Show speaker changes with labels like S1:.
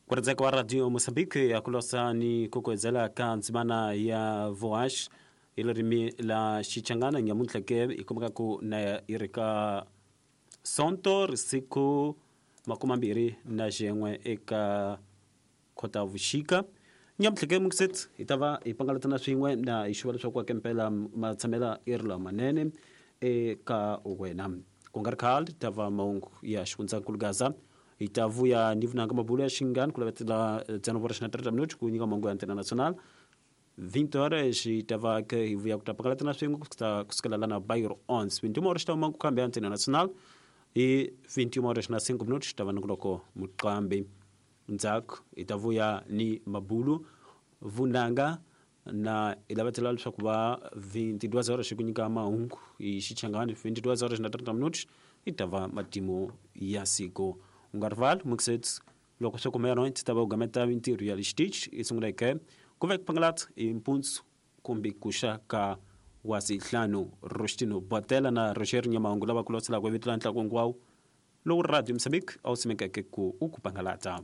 S1: Ku rhandzeka wa Radio Mozambique ya ku losa ni ku kuedzela ka ndzimana ya Voash hi ririmi la Xichangana nyamuntlha ke hi kumeka ku na yi ri ka Sonto risiku makumambirhi na xin'we eka Khotavuxika. Nyamuntlha ke Mukset hi ta va hi pangalatana swin'we na hi xuva leswaku ake mpela matshamela i ri lamanene eka wena. Ku nga ri khale ta va mahungu ya xifundzankulu Gaza hi ta vuya ni vunanga mabulo ya xingani ku lavetela 19 horas na 30 minutos ku nyika mahungu ya Antena Nacional. 20 horas hi ta va ke hi vuya ku ta pangalatana swin'we ku sukela lana Bairro 11. 21 horas ta huma ku khambi ya Antena Nacional hi 21 horas na 5 minutos ta va ni ku loko muqambi. Ndzhaku hi ta vuya ni mabulu vunanga na hi lavetela leswaku va 22 horas ku nyika mahungu hi Xichangani 22 horas na 30 minutos yi ta va matimu ya siku. U nga rivali Mixit loko swi kumeka no ti ta va u gameta mintirho ya le xitichi yi sunguleke ku ve ku pangalat hi mpundzu kumbe ku xa ka wasihlanu. Rostino Botela na Roger Nyamahungu lava ku loselaka vito la ntlangu hinkwawo lowu Radio Mozambique a wu simekeke ku u ku pangalata.